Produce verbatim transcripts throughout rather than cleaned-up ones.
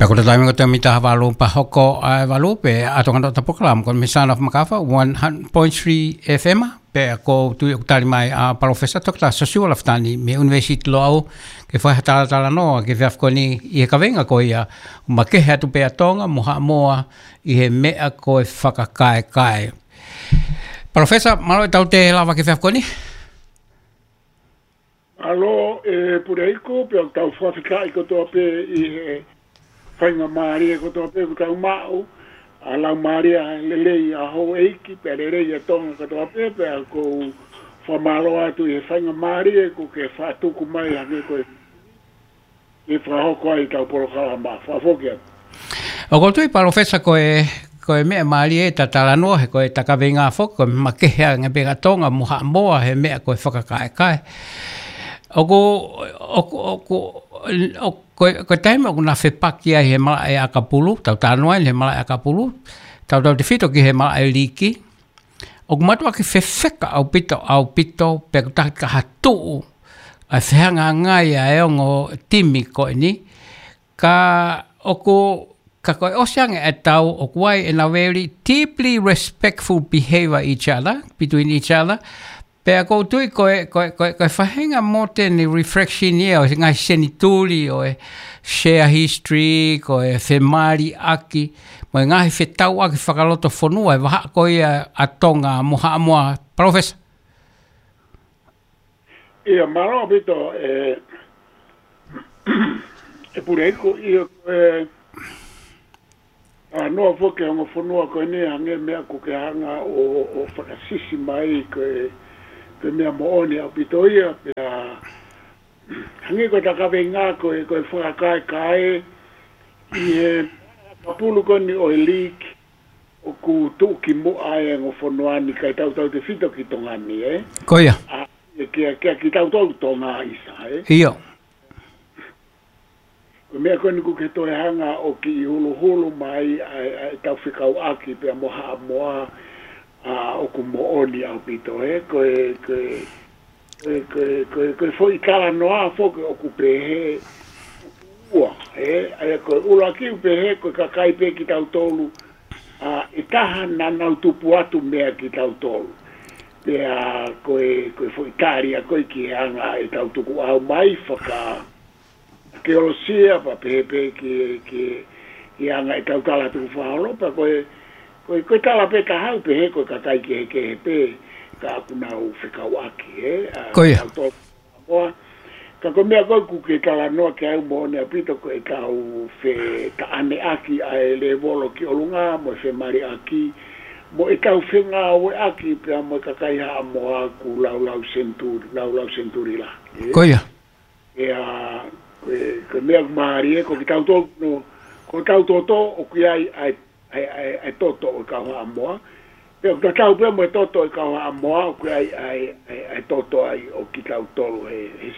Ko e taimi ko e taimi taha valu pea hoko ʻa e valu pē ʻa e ʻatonga ʻo e polokalama ko e Misana of Makafa, one hundred point three F M, pea ʻoku ou tui ʻoku tali mai ʻa Palōfesa Toketā Siosiua Lafitani mei he ʻUnivēsiti Loʻau, ke fai ha talatalanoa ki he efiafi ko eni ʻi he kaveinga ko ia, makehe atu pē ʻa Tonga mo Haʻamoa ʻi he meʻa ko e fakakaekae. Palōfesa, mālō e tau te lava ki he efiafi ko eni. Mālō, ē, Puleiku, pea ʻoku tau fakafetaʻi kotoa pē ʻi he faingamālie kotoa pē ʻoku tau maʻu, ʻa e laumālie lelei ʻa houʻeiki, pea lelei ʻa Tonga kotoa pē, pea ʻoku ou fakamālō atu ʻi he faingamālie ʻoku ke fakatuku mai hangē ko e ke fakahoko ai ʻetau polokalama. Fakafoki atu. ʻOku ou tui Palōfesa ko e, ko e meʻa mālie ʻeta talanoa he ko ʻeta kaveinga foki, ko e makehe ange pē ʻa Tonga mo Haʻamoa he meʻa ko e fakakaekae. ʻOku, ʻoku, ʻoku, ʻoku, ko e, ko e taimi ʻoku na fepaki ai he malaʻe ʻakapulu, tau talanoa ai he malaʻe ʻakapulu, tautautefito ki he malaʻe liiki, ʻoku mātuʻaki fefeka ʻaupito, ʻaupito, pea ʻoku taki ka ha tuʻu ʻa e fehangahangai ʻa e ongo timi ko eni. Ka ʻoku, ka ko e ʻosi ange ʻetau, ʻoku ʻi ai ʻena very deeply respectful behavior each other, between each other. Pea ʻoku ou tui ko e, ko e, ko e, ko e faʻahinga modern reflection ia ʻo e ngaahi senituli ʻo e share history, ko e femaliʻaki, mo e ngaahi fetauʻaki fakalotofonua ʻi he vahaʻa ko ia ʻa Tonga mo Haʻamoa, Palōfesa. ʻIo, mālō ʻaupito, ē, ē Puleiku, ʻio, ē, ʻa, noa foki ʻa e ongo fonua ko eni hangē meʻa ʻoku ke hanga ʻo, ʻo fakasisi mai ko e, ko e meʻa moʻoni ʻaupito ia, pea hangē ko ʻeta kaveinga ko e, ko e fakakaekae ʻi he ʻakapulu ko eni ʻo e liiki ʻoku tuʻu ki muʻa ʻa e ongo fonua ni kae tautautefito ki Tonga ni, ē? Ko ia. ʻA, ʻe kia, kia kitautolu Tonga ʻisa, ē? ʻIo. Ko e meʻa ko eni ʻoku ke toe hanga ʻo kiʻi huluhulu mai ʻa e, ʻa ʻetau fekauʻaki pea mo Haʻamoa, ʻa, ʻoku moʻoni ʻaupito, ē? Ko e, ko e, ko e, ko e, ko e, ko e foʻi talanoa foki ʻoku pehē ua, ē? ʻA ia ko e ʻuluaki ʻoku pehē ko e kakai pē kitautolu, ʻa, ʻe taha naʻa nau tupu atu meia kitautolu. Pea ko e, ko e foʻi tali ia ko ē ki he anga ʻetau tukuʻau mai faka-, ʻakeolosia, pea pehē pē ki, ki, ki he anga ʻetau tala tukufakaholo, pea ko e, ko e, ko e tala pē taha ʻoku pehē ko e kakai kehekehe pē, ka ʻoku nau fekauʻaki, ē, ʻa, Ko ia. kitautolu Haʻamoa. Ka ko e meʻa ko ē ʻoku ke talanoa ki ai ʻoku moʻoni ʻaupito ko ʻetau fetaʻaneʻaki ʻa e lēvolo ki ʻolunga, mo e femaliʻaki, mo ʻetau fengāueʻaki pea mo e kakai Haʻamoa ʻoku laulau senituli, laulau senituli lahi, ē? Ko ia. ʻIa, ko e, ko e meʻa ʻoku mālie, ko kitautolu, no, ko ʻetau toto, ʻoku ʻi ai ʻa e, ʻa e, ʻa e, ʻa e toto ʻo e kau Haʻamoa. Pea ʻoku tatau pē mo e toto ʻo e kau Haʻamoa, ʻoku ʻi ai ʻa e, ʻa e, ʻa e toto ai ʻo kitautolu he, he,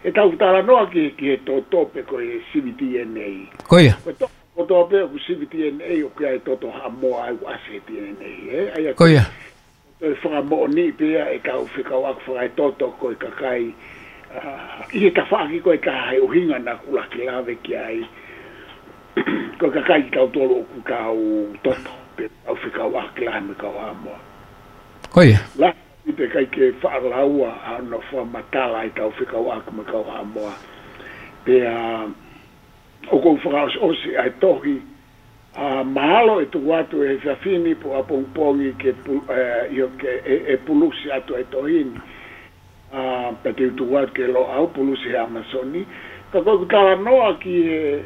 heʻetau talanoa ki, ki he toto pe ko e sivi D N A. Ko ia. Ko e toto kotoa pē ʻoku sivi D N A ʻoku ʻi ai e toto Haʻamoa ai ʻoku ʻasi he D N A, ē? ʻA ia Ko ia. Ko e fakamoʻoni pē ia ʻetau fekauʻaki fakaetoto ko e kakai, ʻa, ʻi he tafaʻaki ko ē ʻe taha he ʻuhinga naʻa ku laki lave ki ai. Ko e kakai kitautolu ʻoku tau toto, pe tau fekauʻaki lahi mo e kau Haʻamoa. Ko ia. Lahi pē ʻikai ke faʻa laua ʻa hono fakamatala ʻetau fekauʻaki mo e kau Haʻamoa. Pea, ʻoku ou fakaʻosiʻosi ʻa e tohi, ʻa, mahalo ʻe tuku atu he efiafi ni pe ʻapongipongi ke pu-, ē, ʻio ke, ʻe, ʻe pulusi atu ʻa e tohi ni. ʻA, pea te u tuku atu ki Loʻau pulusi he ʻAmasoni. Ka ko ʻeku talanoa ki he,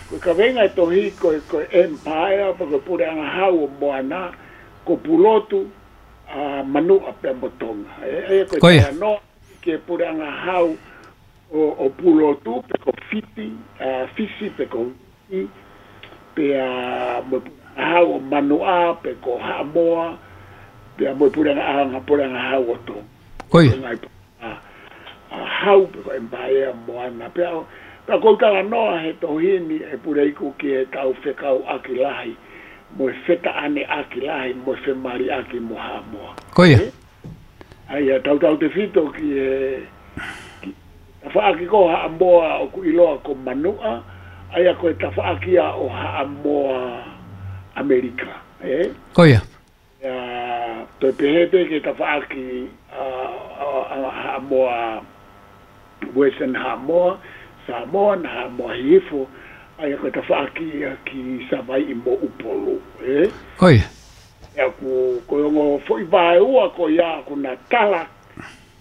ko e kaveinga e tohi, ko e, ko e empire, pe ko e puleʻanga hau ʻo Moana, ko Pulotu, ʻa, Manuʻa pea mo Tonga. Ē, ē, ko e Ko ia. talanoa ki he puleʻanga hau ʻo, ʻo Pulotu, pe ko Fiti, ʻa, Fisi, pe ko Fiti, pea mo e puleʻanga hau ʻo Manuʻa, pe ko Haʻamoa, pea mo e puleʻanga, ʻa, puleʻanga hau ʻo Tonga. Ko ia. Ko e ngaahi pu-, ʻa, ʻa, hau pe ko e empire Moana. Pea, pea ʻoku ou talanoa he tohi ni ʻe Puleiku ki heʻetau fekauʻaki lahi, mo e fetaʻaneʻaki lahi, mo e femaliʻaki mo Haʻamoa. Ko ia. Ē? ʻA ia, tautautefito ki he, ki he tafaʻaki ko Haʻamoa ʻoku ʻiloa ko Manuʻa, ʻA ia ko e tafaʻaki ia ʻo Haʻamoa ʻAmelika, ē? Ko ia. ʻA, toe pehē pē ki he tafaʻaki, ʻa, ʻa, ʻa Haʻamoa, Western Haʻamoa, Samoa, na Haʻamoa Hihifo, ʻa ia ko e tafaʻaki ia ki Savaiʻi mo ʻUpolu, ē? Ko ia. ʻA ia ko, ko e ongo foʻi vaeua ko ia ʻoku na tala,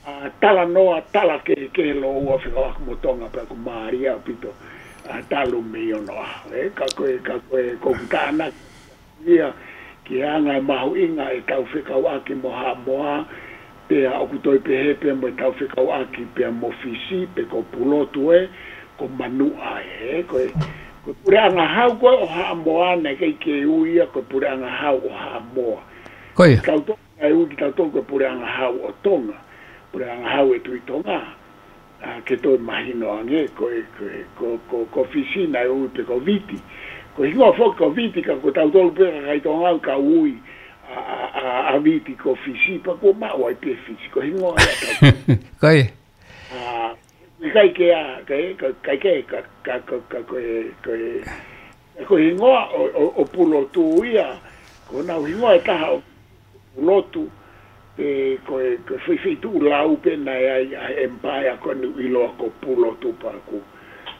ʻa, talanoa, tala kehekehe lōua fekauʻaki mo Tonga pea ʻoku mālie ʻaupito, ʻa, talu mei onoʻaho, ē? Ka ko e, ka ko e, ko ʻeku tānaki ia ki he anga e mahuʻinga ʻetau fekauʻaki mo Haʻamoa, pea ʻoku toe pehē pē mo ʻetau fekauʻaki pea mo Fisi, pe ko Pulotu ē, ko Manuʻa ē, ko e, ko e puleʻanga hau ko ē ʻo Haʻamoa, naʻe ʻikai ke ui ia ko e puleʻanga hau ʻo Haʻamoa. Ko ia. Kitautolu naʻe ui kitautolu ko e puleʻanga hau ʻo Tonga, puleʻanga hau e Tuʻi Tonga. ʻA, ke toe mahino ange, ko e, ko e, ko, ko, ko Fisi naʻe ui pē ko Viti. Ko e hingoa foki ko Viti, ka ko tautolu pē kakai Tonga ʻoku ui ʻa, ʻa, ʻa, ʻa Viti ko Fisi, pea kuo maʻu ai pē Fisi, ko e hingoa ia tautolu. Ko ia. ʻA, ʻikai ke ʻa, ka, ka, ka, ka, ka, ka, ka, ko e, ko e, ko e hingoa ʻo, ʻo, ʻo Pulotu ia, ko honau hingoa ʻe taha ʻo Pulotu, pe ko e, ko e feifeituʻu lau pē naʻe ʻi ai ʻa e empire ko eni ʻoku ʻiloa ko Pulotu pea ʻoku,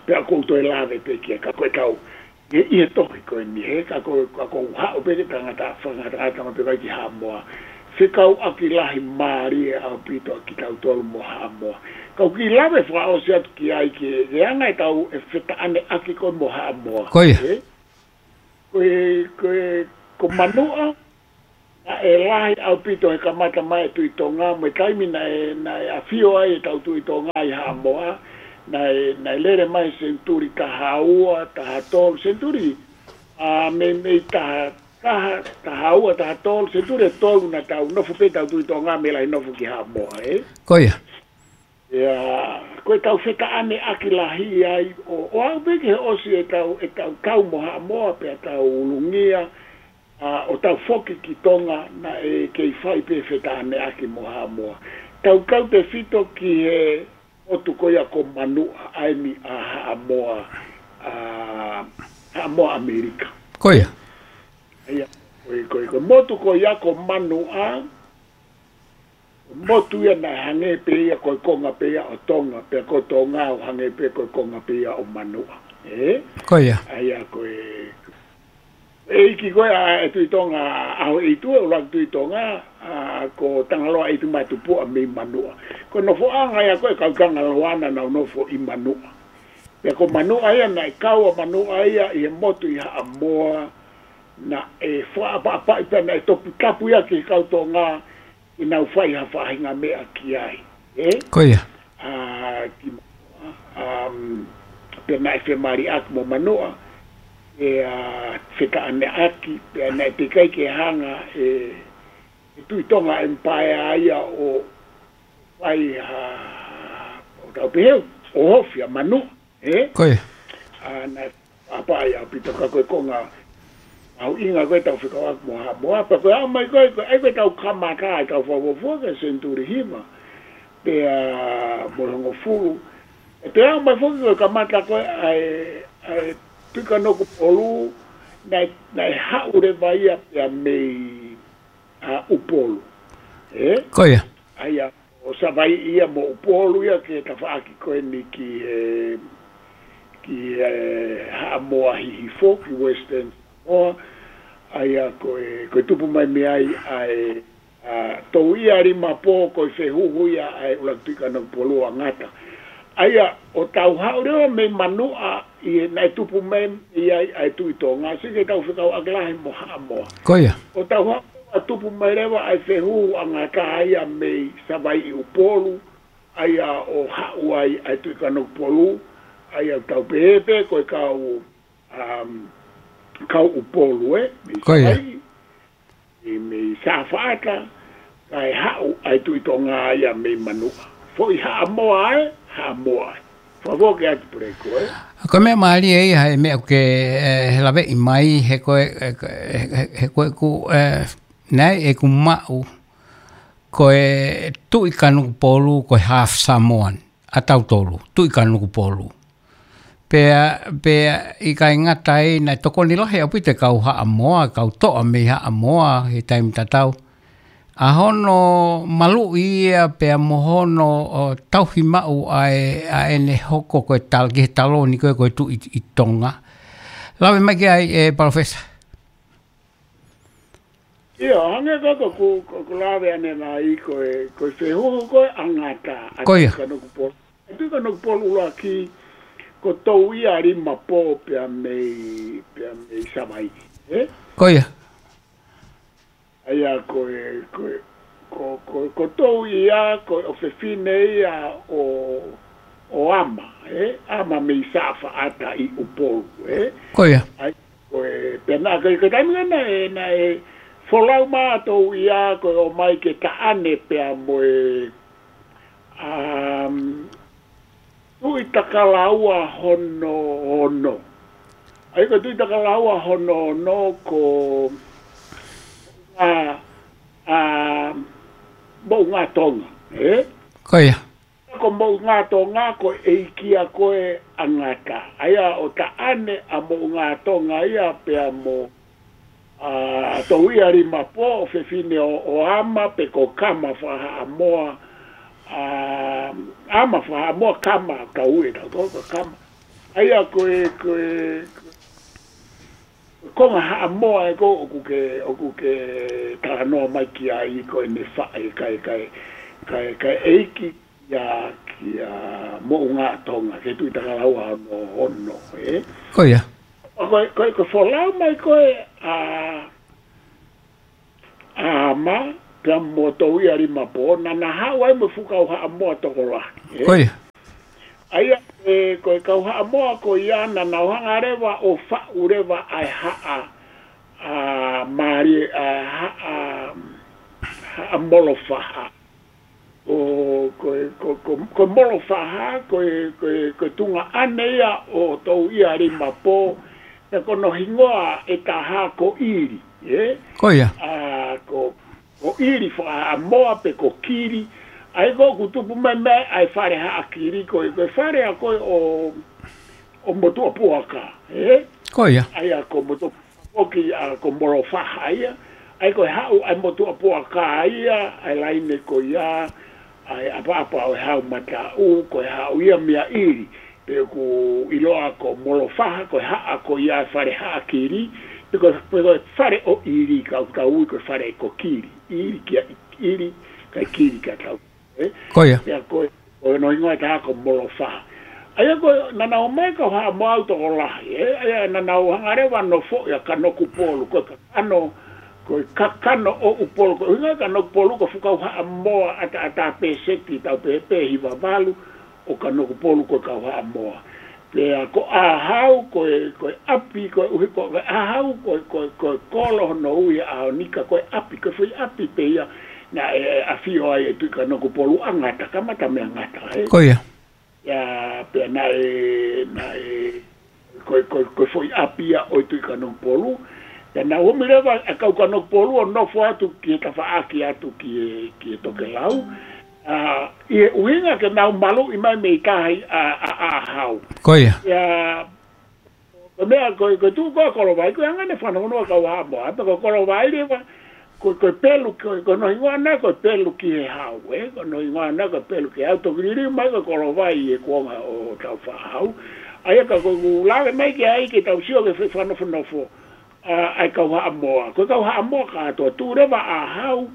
pea ʻoku ou toe lave pē ki ai ka ko e kau, ʻi he, ʻi he tohi ko eni, he ka ko, ka ʻoku ou haʻu pē ke tangata, fakangatangata mo pē kai ki Haʻamoa. Fekauʻaki lahi mālie ʻaupito ʻa kitautolu mo Haʻamoa. Ka ʻoku ou kiʻi lave fakaʻosi atu ki ai ki he, he anga ʻetau e fetaʻaneʻaki ko ē mo Haʻamoa. Ko ia. Ē? Ko e, ko e, ko Manuʻa, naʻe lahi ʻaupito he kamata mai e Tuʻi Tonga, mo e taimi naʻe, naʻe ʻafio ai ʻetau Tuʻi Tonga ʻi Haʻamoa, naʻe, naʻe lele mai senituli taha ua, taha tolu, senituli, ʻa, mei, mei taha, taha, taha ua, taha tolu, senituli ʻe tolu naʻa tau nofo pē ʻetau Tuʻi Tonga mei lahi nofo ki Haʻamoa, ē? Ko ia. ʻIa, ko ʻetau fetaʻaneʻaki lahi ai, ʻo, ʻo aʻu pē ki he ʻosi ʻetau, ʻetau kau mo Haʻamoa, pea tau ulungia, ʻa, ʻo tau foki ki Tonga, naʻe kei fai pē fetaʻaneʻaki mo Haʻamoa. Tau kau tefito ki he motu ko ia ko Manuʻa, ʻa eni ʻa Haʻamoa, ʻa, Haʻamoa ʻAmelika. Ko ia. ʻIa, ko e, ko e, ko e motu ko ia ko Manuʻa, motu ia naʻe hangē pē ia ko e konga pē ia ʻo Tonga, pea ko Tonga ʻoku hangē pē ko e konga pē ia ʻo Manuʻa. Ē? Ko ia. ʻA ia ko e, ʻeiki ko ē ʻa e Tuʻi Tonga ʻAhoʻeitu, ʻuluaki Tuʻi Tonga, ʻa, ko Tangaloa ʻEitumātupuʻa mei Manuʻa. Ko e nofoʻanga ia ko ē kau Tangaloa naʻa nau nofo ʻi Manuʻa. Pea ko Manuʻa ia naʻe kau ʻa Manuʻa ia ʻi he motu ʻi Haʻamoa, naʻe fakaʻapaʻapaʻi pea naʻe toputapu ia ki he kau Tonga, ke nau fai ha faʻahinga meʻa ki ai. Ē? Ko ia. ʻA, ki, um, pea naʻe femaliʻaki mo Manuʻa, ʻe, ʻa, fetaʻaneʻaki, pea naʻe teʻeki ai ke hanga ʻe, ʻe Tuʻi Tonga Empire ia ʻo fai ha, ʻo tau pehē, ʻo ofi ʻa Manuʻa, ē? Ko ia. ʻA, naʻe ʻapaʻi ʻaupito ka ko e konga mahuʻinga ko ē ʻetau fekauʻaki mo Haʻamoa, pea ko e aʻu mai ko ē, ko e, ʻa ia ko ʻetau kamata ʻetau fakafuofua ki he senituli hiva, pea mo e hongofulu. ʻE toe aʻu mai foki ko e kamata ko ē ʻa e, ʻa e Tuʻi Kanokupolu, naʻe, naʻe haʻu leva ia pea mei, ʻa, ʻUpolu. Ē? Ko ia. ʻA ia, ʻo Savaiʻi ia mo ʻUpolu ia ki he tafaʻaki ko eni ki he, ki he Haʻamoa Hihifo, ki Western Samoa. ʻA ia ko e, ko e tupu mai mei ai ʻa e, ʻa, Touialimapō ko e fehuhu ia ʻa e ʻUluaki Tuʻi Kanokupolu ʻa Ngata. ʻA ia, ʻo tau haʻu leva mei Manuʻa, ʻi he naʻe tupu mai mei ai ʻa e Tuʻi Tonga, sio ki heʻetau fekauʻaki lahi mo Haʻamoa. Ko ia. ʻO tau haʻu ʻa tupu mai leva ʻa e fehuhu ʻa Ngata ia mei Savaiʻi ʻUpolu, ʻa ia ʻo haʻu ai ʻa e Tuʻi Kanokupolu, ʻa ia ʻoku tau pehē pē ko e kau, um, kau ʻUpolu, ē, mei Ko ia. Savaiʻi, ʻi mei Safaʻata, kae haʻu ʻa e Tuʻi Tonga ia mei Manuʻa. Foʻi Haʻamoa ē, Haʻamoa ē. Fakafoki atu Puleiku, ē. Ko e meʻa mālie ia he meʻa ke, ē, he laveʻi mai, he ko e, ē, he, he, he ko e ku, ē, naʻe ʻeku maʻu, ko e Tuʻi Kanokupolu, ko e half Samoan, ʻa tautolu, Tuʻi Kanokupolu. Pea, pea ʻikai ngata ai, naʻe tokoni lahi ʻaupito e kau Haʻamoa, kau toʻa mei Haʻamoa he taimi tatau. ʻA hono maluʻi ia pea mo hono, ʻo, tauhi maʻu ʻa e, ʻa ʻene hoko ko e tal-, ki he taloni ko e, ko e Tuʻi ʻi Tonga. Lave mai ki ai, ʻe Palōfesa. ʻIo, hangē ko ʻeku, ko, ko ʻeku lave ʻanenai ko e, ko e fehuhu ko e ʻa Ngata, ʻa Ko ia. Tuʻi Kanokupolu. ʻA Tuʻi Kanokupolu ʻuluaki, ko Touialimapō pea mei, pea mei Savaiʻi, ē? Ko ia. ʻA ia ko e, ko e, ko, ko, ko Touia, ko e ʻofefine ia ʻo, ʻo ʻAma, ē? ʻAma mei Saʻafaʻata ʻi ʻUpolu, ē? Ko ia. ʻA ia ko e, pea naʻe, ko e, ko e taimi naʻe, naʻe folau mai ʻa Touia ko e ʻomai ke taʻane pea mo e, um, Tuʻi Takalaua hono ono. ʻA ia ko Tuʻi Takalaua hono ono ko ʻa, ʻa Moʻungāʻa Tonga, ē? Ko ia. Ko Moʻungāʻa Tonga ko e ʻeiki ia ko e ʻa Ngata. ʻA ia ʻo taʻane ʻa Moʻungāʻa Tonga ia pea mo ʻa Touialimapō, ʻofefine ʻo, ʻo ʻAma pe ko Kama fakahaʻamoa, ʻa, ʻAma fakahaʻamoa Kama, tau ui ʻe tautolu ko Kama. ʻA ia ko e, ko e, ko e konga Haʻamoa ē ko ē ʻoku ke, ʻoku ke talanoa mai ki ai ko ʻene faʻē, kae, kae, kae, kae ʻeiki ia kia Moʻungāʻa Tonga, ke Tuʻi Takalaua hono ono, ē? Ko ia. Ko e, ko e, ko e folau mai ko e ʻa, ʻa ʻAma, pea mo Touialimapō, naʻa na haʻu ai mo e fuʻu kau Haʻamoa tokolahi, ē? Ko ia. ʻA ia, ē, ko e kau Haʻamoa ko ia naʻa nau hanga leva ʻo faʻu leva ʻa e haʻa, ʻa Mali, ʻa e haʻa, Haʻa Molofaha. ʻO, ko e, ko, ko, ko Molofaha, ko e, ko e, ko e tuongaʻane ia ʻo Touialimapō, pea ko hono hingoa ʻe taha ko ʻIli, ē? Ko ia. ʻA, ko, ko ʻIli fakahaʻamoa pe ko Kili, ʻa ia ko ē ʻoku tupu mai mei ai ʻa e fale Haʻa Kili, ko e, ko e fale ʻa ko ē ʻo, ʻo Motuʻapuaka, ē? Ko ia. ʻA ia ko Motu-, foki ʻa ko Molofaha ia, ʻa ia ko e haʻu ʻa e Motuʻapuaka ia, ʻa e laine ko ia, ʻa e ʻapaʻapa ʻo e Haumataʻu, ko e haʻu ia mei ʻIli, pe ʻoku ʻiloa ko Molofaha, ko e haʻa ko ia e fale Haʻa Kili, pe ko, pe ko e fale ʻo ʻIli, ka, ka ui ko e fale ko Kili, ʻIli kia ʻIli, kae Kili kia tau. Ē? Ko ia. Pea ko e, ko hono hingoa ʻe taha ko Molofaha. ʻA ia ko e, naʻa nau ōmai kau Haʻamoa ʻo tokolahi, ē? ʻA ia naʻa nau hanga leva ʻo nofoʻi ʻa Kanokupolu, ko e kakano, ko e kakano ʻo ʻUpolu, ko e ʻuhinga Kanokupolu ko e fuʻu kau Haʻamoa ʻataʻatā, pēseti tau pehē pē hiva valu ʻo Kanokupolu ko e kau Haʻamoa. Pea ko ʻĀhau, ko e, ko e ʻapi, ko e ʻuhi, ko, ko ʻĀhau, ko e, ko e, ko e kolo hono ui ʻa ʻAonika, ko e ʻapi, ko e foʻi ʻapi pē ia naʻe, ʻe ʻafio ai ʻa e Tuʻi Kanokupolu ʻa Ngata, kamata mei Ngata, ē? Ko ia. Ia, pea naʻe, naʻe, ko e, ko e, ko e foʻi ʻapi ia ʻo e Tuʻi Kanokupolu. Pea naʻe ōmai leva ʻa e kau Kanokupolu ʻo nofo atu ki he tafaʻaki atu ki he, ki he tokelau. ʻA, ʻi he ʻuhinga ke nau maluʻi mai mei tahi ʻa, ʻa, ʻa ʻĀhau. Ko ia. Ia, ko e meʻa ko e, ko e tuʻu ko ē ʻa Kolovai, ko e anga ʻene fanaunua kau Haʻamoa, pea ko Kolovai leva, ko, ko e pelu, ko, ko hono hingoa ʻana ko e pelu ki he hau, ē? Ko hono hingoa ʻana ko e pelu ki he hau, toki liliu mai ko Kolovai ʻi he kuonga ʻo Tāufaʻāhau. ʻA ia ka ko ʻeku lave mai ki ai ke tau sio ki he fefanofonofo ʻa, ʻa e kau Haʻamoa. Ko e kau Haʻamoa kātoa, tuʻu leva ʻa ʻĀhau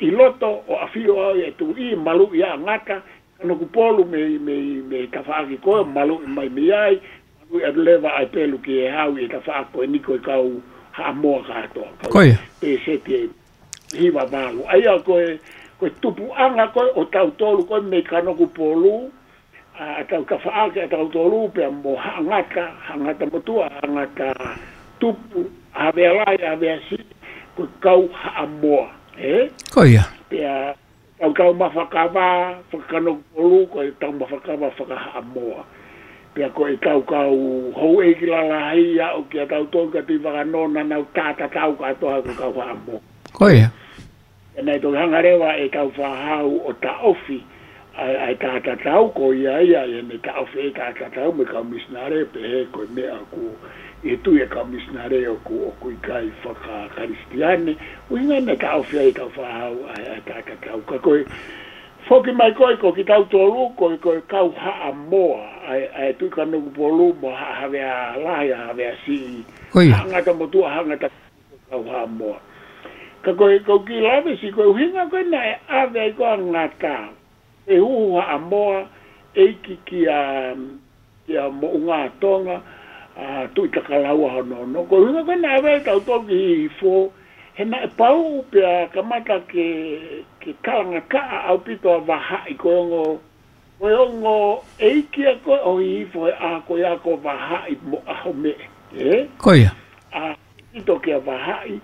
ʻi loto ʻo ʻafio ai ʻa e tuʻi, maluʻi ʻa Ngata, Kanokupolu mei, mei, mei tafaʻaki ko ē, maluʻi mai mei ai, maluʻi atu leva ʻa e pelu ki he hau ʻi he tafaʻaki ko eni ko e kau Haʻamoa kātoa. Kau Ko ia. Pēseti ʻe hiva valu. ʻA ia ko e, ko e tupuʻanga ko ē ʻo tautolu ko ē mei Kanokupolu, ʻa, ʻa tau tafaʻaki ʻa tautolu pea mo Haʻangata, Haʻangata Motuʻa, Haʻangata Tupu, Havea Lahi, Havea Siʻi, ko e kau Haʻamoa, ē? Ko ia. Pea tau tau mafakava, fakakanokupolu, ko e tau mafakava fakahaʻamoa. Pea ko e tau kau houʻeiki lalahi ia ʻo kia tautolu ka tui vakanona nau tātatau kātoa ko e kau Haʻamoa. Ko ia. Pea naʻe toki hanga leva ʻe Tāufaʻāhau ʻo taʻofi, ʻa e, ʻa e taʻatatau ko ia ia, ʻi heʻene taʻofi e taʻatatau mo e kau misinale, pehē ko e meʻa ʻoku ʻi he tui e kau misinale ʻoku, ʻoku ʻikai faka-Kalisitiane, ʻuhinga naʻe taʻofi ai e kau Faʻahau ʻa e, ʻa e taʻatatau. Ka ko e foki mai ko ē, ko kitautolu, ko e, ko e kau Haʻamoa, ʻa e, ʻa e Tuʻi Kanokupolu mo Haʻa Havea Lahi, Haʻa Havea Siʻi, Ko ia. Haʻa Ngata Motuʻa, Haʻa Ngata, kau Haʻamoa. Ka ko e, ko e kiʻi lave siʻi ko e ʻuhinga ko ē naʻe ʻave ai ko ē ʻa Ngata, ʻe huhu Haʻamoa, ʻeiki kia, kia Moʻungatonga, ʻa Tuʻitakalaua hono ono. Ko e ʻuhinga ko ē naʻe ʻave ai tautolu ki Hihifo, he naʻe pauʻu pea kamata ke, ke talangataʻa ʻaupito ʻa Vahaʻi, ko e ongo, ko e ongo ʻeiki ia ko ē ʻo Hihifo he ʻaho ko ia ko Vahaʻi mo ʻAhomeʻe, ē? Ko ia. ʻA, ʻaupito kia Vahaʻi,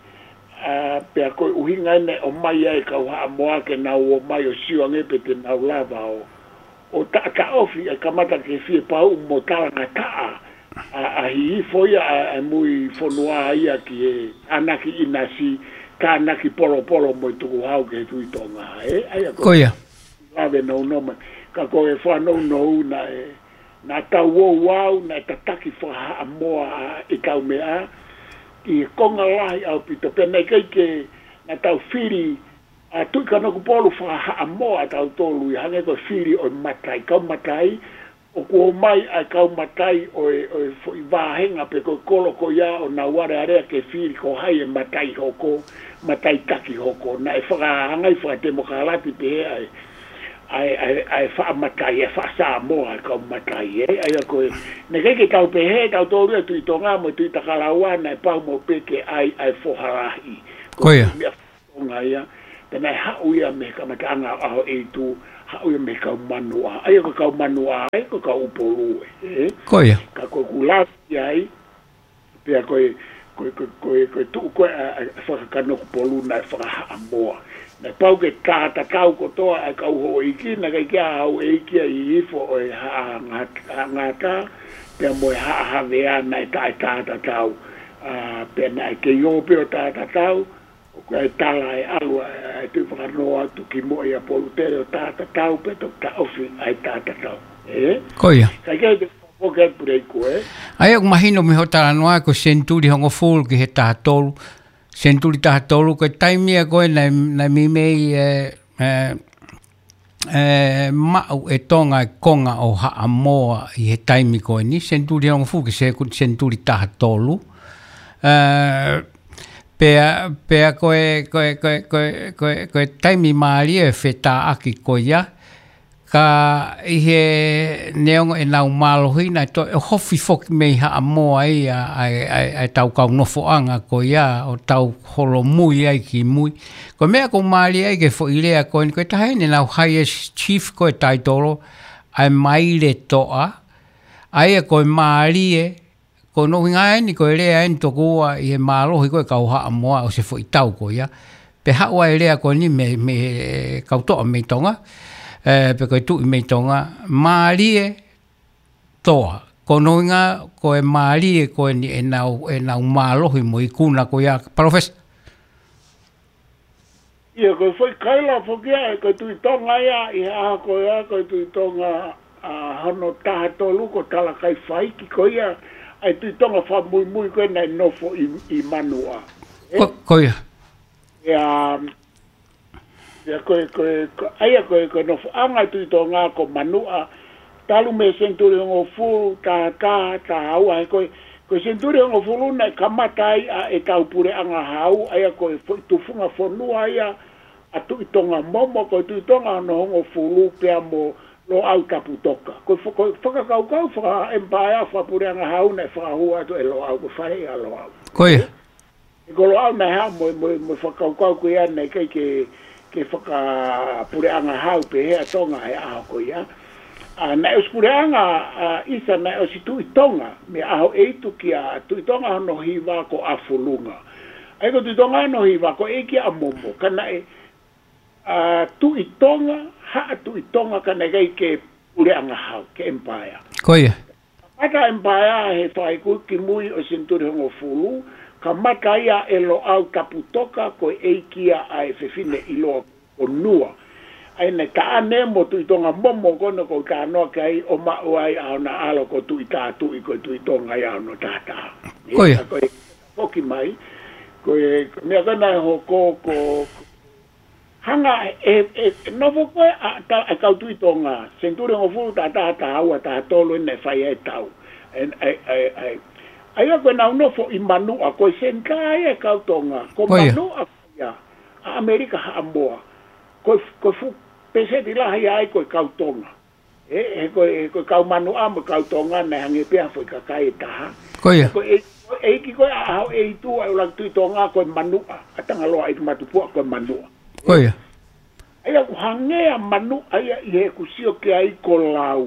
ʻa, pea ko e ʻuhinga ʻeni ʻomai ai e kau Haʻamoa ke nau ō mai ʻo sio ange pe te nau lava ʻo, ʻo taʻataʻofi, ʻa e kamata ke fie pauʻu mo talangataʻa ʻa, ʻa Hihifo ia, ʻa, ʻa e mui fonua ia ki he tānaki ʻinasi, tānaki polopolo mo e tukuhau ki he Tuʻi Tonga, ē? ʻA ia ko Ko ia. Lave nounou mai. Ka ko e fakanounou naʻe, naʻa tau ouau, naʻe tataki faka-Haʻamoa ʻa e kau meʻa, ʻi he konga lahi ʻaupito. Pea naʻe ʻikai ke, naʻa tau fili ʻa Tuʻi Kanokupolu faka-Haʻamoa ʻa tautolu, ʻi hangē ko e fili ʻo e matai, kau matai, ʻoku ō mai ʻa e kau matai ʻo e, ʻo e foʻi vāhenga pe ko e kolo ko ia ʻo nau alealea ke fili ko hai e matai hoko, matai taki hoko. Naʻe fakahangai fakatemokalati pehē ʻa e, ʻa e, ʻa e, ʻa e faʻa matai, ʻa e faʻa Samoa ʻa e kau matai, ē? ʻA ia ko e, naʻe ʻikai ke tau pehē, tautolu ia Tuʻi Tonga mo Tuʻitakalaua, naʻe pau mo pē ke ʻai ʻa e foha lahi. Ko ia. Meʻa Tonga ia, pea naʻe haʻu ia mei he kamataʻanga ʻo ʻAhoʻeitu, haʻu ia mei he kau Manuʻa. ʻA ia ko e kau Manuʻa, ʻa ia ko e kau ʻUpolu ē, ē? Ko ia. Ka ko ʻeku lave ai, pea ko e, ko e, ko e, ko e, ko e tuʻu ko ē ʻa, ʻa, faka-Kanokupolu naʻe faka-Haʻamoa. Naʻe pau ke taʻatatau kotoa ʻa e kau houʻeiki, naʻe ʻikai ke ʻi ai ha houʻeiki ia ʻi Hihifo ʻo e Haʻa Ngat-, Haʻa Ngata, pea mo e Haʻa Havea naʻe taʻetaʻatatau. ʻA, pea naʻe kei ō pē ʻo taʻatatau, ʻoku ʻi ai e tala ʻe ʻalu ʻa e, ʻa e Tuʻi Fakanoa atu ki Moʻi ʻa Polutele ʻo taʻatatau pea toki taʻofi ʻa e taʻatatau. Ē? Ko ia. Ka ʻikai te u foki atu Puleiku, ē? ʻA ia ʻoku mahino mei hoʻo talanoa ko e senituli hongofulu ki he taha tolu. Senituli taha tolu, ko e taimi ia ko ē naʻe, naʻe meimei, ē, ē, ē, maʻu ʻe Tonga e konga ʻo Haʻamoa ʻi he taimi ko eni, senituli hongofulu ki he seku-, senituli taha tolu. Ē, pea, pea ko e, ko e, ko e, ko e, ko e, ko e taimi mālie e fetāʻaki ko ia, ka ʻi he neongo ʻenau mālohi naʻe toe ʻohofi foki mei Haʻamoa ia ʻa e, ʻa e, ʻa e, ʻa e tau kau nofoʻanga ko ia ʻo tau holomui ai ki mui. Ko e meʻa ʻoku mālie ai ki he foʻi lea ko eni, ko e taha eni ʻenau highest chief ko e taitolo, ʻa e Maile Toʻa, ʻa ia ko e mālie, ko hono ʻuhinga eni ko e lea eni tokua ʻi he mālohi ko e kau Haʻamoa ʻo e foʻi tau ko ia. Pea haʻu ai e lea ko eni mei, mei he kau toʻa mei Tonga, ē, pe ko e tuʻi mei Tonga, Maile Toʻa. Ko hono ʻuhinga ko e mālie ko eni ʻenau, ʻenau mālohi mo e ikuna ko ia, Palōfesa. ʻIo, ko e foʻi kaila foki ia, ko e Tuʻi Tonga ia, ʻi he ʻaho ko ia, ko e Tuʻi Tonga, ʻa, hono taha tolu ko Talakaifaiki ko ia, ʻa e Tuʻi Tonga fakamuimui ko ē naʻe nofo ʻi, ʻi Manuʻa. Ē? Ko, ko ia. ʻIa, ʻia ko e, ko e, ko, ʻa ia ko e, ko e nofoʻanga e Tuʻi Tonga ko Manuʻa, talu mei he senituli hongofulu, taha taha, taha ua, he ko e, ko e senituli hongofulu naʻe kamata ai ʻa ʻetau puleʻanga hau, ʻa ia ko e foʻi tufunga fonua ia ʻa Tuʻi Tonga Momo, ko e Tuʻi Tonga hono hongofulu pea mo Loʻau Taputoka. Ko e fo-, ko e fakakaukau faka-empire, fakapuleʻanga hau naʻe fakahū atu ʻe Loʻau, ko e faleʻi ʻa Loʻau. Ko ia. Ko Loʻau naʻe haʻu mo, mo, mo e fakakaukau ko ia naʻe ʻikai ke, ke fakapuleʻanga hau pehē ʻa Tonga he ʻaho ko ia. ʻA, naʻe ʻosi puleʻanga, ʻa, ʻisa naʻe ʻosi Tuʻi Tonga, mei ʻAhoʻeitu kia Tuʻi Tonga hono hiva ko ʻAfulunga. ʻA ia ko Tuʻi Tonga hono hiva ko e ʻeiki ʻa Momo. Ka naʻe, ʻa, Tuʻi Tonga, Haʻa Tuʻi Tonga ka naʻe ʻikai ke puleʻanga hau, ke empire. Ko ia. Kamata empire he fakaʻeiki kimui ʻo e senituli hongofulu, kamata ia ʻe Loʻau Taputoka ko e ʻeiki ia ʻa e fefine ʻiloa ko Nua. ʻa ʻene taʻane mo Tuʻi Tonga Momo ko ena ʻoku ou talanoa ki ai, ʻo maʻu ai ʻa ʻona ʻalo ko Tuʻi Tātuʻi, ko e Tuʻi Tonga ia ʻo hono taha taha. Ko ia. Ka ko e foki mai, ko e, ko e meʻa ko ena ʻe hoko, ko, ko, hanga ʻe, ʻe, ʻe nofo ko ē ʻa, ta, ʻa e kau Tuʻi Tonga, senituli hongofulu, taha taha, taha ua, taha tolu, ʻene fai ai e tau. ʻE, ʻe, ʻe, ʻe, ʻa ia ko ʻenau nofo ʻi Manuʻa, ko e senitā ia e kau Tonga, ko Ko ia. Manuʻa ia, ʻa ʻAmelika Haʻamoa, ko e, ko e fuʻu pēseti lahi ai ko e kau Tonga. ʻE, he ko e, he ko e kau Manuʻa mo e kau Tonga naʻe hangē pē ha foʻi kakai ʻe taha. Ko ia. Ko e, ko e ʻeiki ko ē ʻa ʻAhoʻeitu, ʻa e ʻuluaki Tuʻi Tonga ko e Manuʻa, ʻa Tangaloa ʻEiki Matupuʻa ko e Manuʻa. Ko ia. ʻA ia ʻoku hangē ʻa Manuʻa ia ʻi heʻeku sio ki ai ko Lau.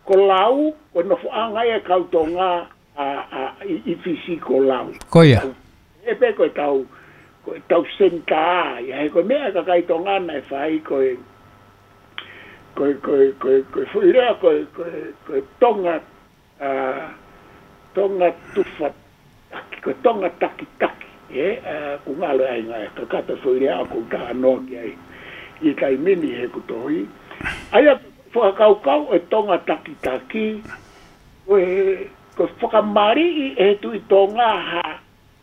Ko Lau, ko e nofoʻanga ia e kau Tonga, ʻa, ʻa, ʻi, ʻi Fisi ko Lau. Ko ia. ʻE pē ko e tau, ko e tau senitā ia, he ko e meʻa ʻa e kakai Tonga naʻe fai ko e, ko e, ko e, ko e, ko e foʻi lea ko e, ko e, ko e Tonga, ʻa, Tonga tufa, taki, ko e Tonga takitaki, ē, ʻa, ʻoku ngalo ai ngaahi kakato foʻi lea ʻoku ou talanoa ki ai ʻi he taimi ni heʻeku tohi. ʻA ia, fakakaukau e Tonga takitaki, ko e, ko e fakamaliʻi ʻe he Tuʻi Tonga ha,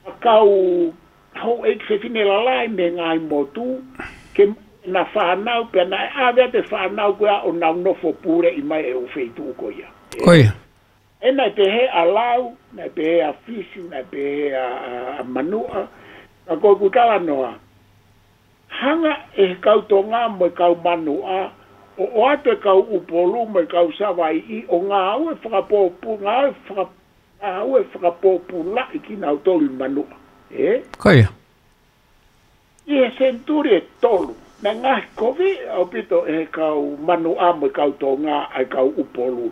ha kau houʻeiki fefine lalahi mei he ngaahi motu, ke na fānau, pea naʻe ʻave atu e fānau ko ia ʻo nau nofo puleʻi mai e ʻū feituʻu ko ia. Ko ia. ʻE naʻe pehē ʻa Lau, naʻe pehē ʻa Fisi, naʻe pehē ʻa, ʻa, ʻa Manuʻa, ka ko ʻeku talanoa, hanga ʻe he kau Tonga mo e kau Manuʻa, ʻo, ʻoatu e kau ʻUpolu mo e kau Savaiʻi, ʻo ngāue fakapōpula, ngāue faka-, ngāue fakapōpulaʻi kinautolu ʻi Manuʻa. Ē? Ko ia. ʻI he senituli ʻe tolu, naʻe ngaohi koviʻi ʻaupito ʻe he kau Manuʻa mo e kau Tonga ʻa e kau ʻUpolu.